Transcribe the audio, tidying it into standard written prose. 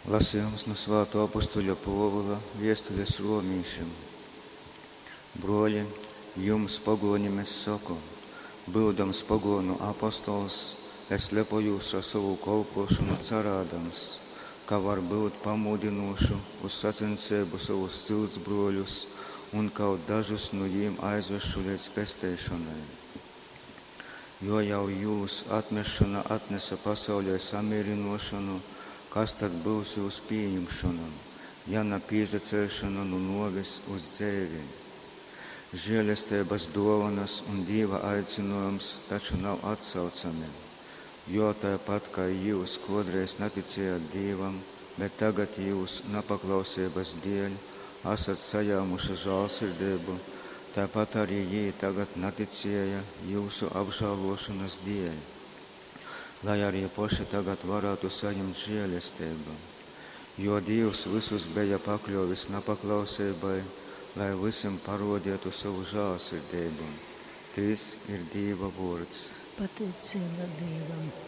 Lasejums nu svātuo apustuļa Puovula viestulis ruomīšim. Bruoli, jums, poguonim, es soku, byudams poguonu apostols, es lepojūs ar sovu kolpuošonu carādams, ka varbyut pamūdynuošu uz saceņseibu sovus ciltsbruoļus un kaut dažus nu jīm aizvesšu leidz pesteišonai. Jo jau jūs atmesšona atnese pasaulei samīrynōšonu, kas tad byus jūs pījimšona, ja na pīsaceļšona nu nōves uz dzeivi? Želesteibas dōvonas un Dīva aicynōjums taču nav atsaucami. Jo taipat kai jyus kōdreiz naticējat Dīvam, bet tagad jūs napaklauseibas dēļ asat sajāmuši žālsirdeibu, taipat arī jī tagad naticēja jyusu apžālōšonas dēļ, lai arī poši tagad varātu sajimt žēlesteibu. Jo Dīvs vysus beja pakļōvis napaklauseibai, lai vysim parōdeitu sovu žālsirdeibu. Tys ir Dīva vōrds. Pateiceiba Dīvam.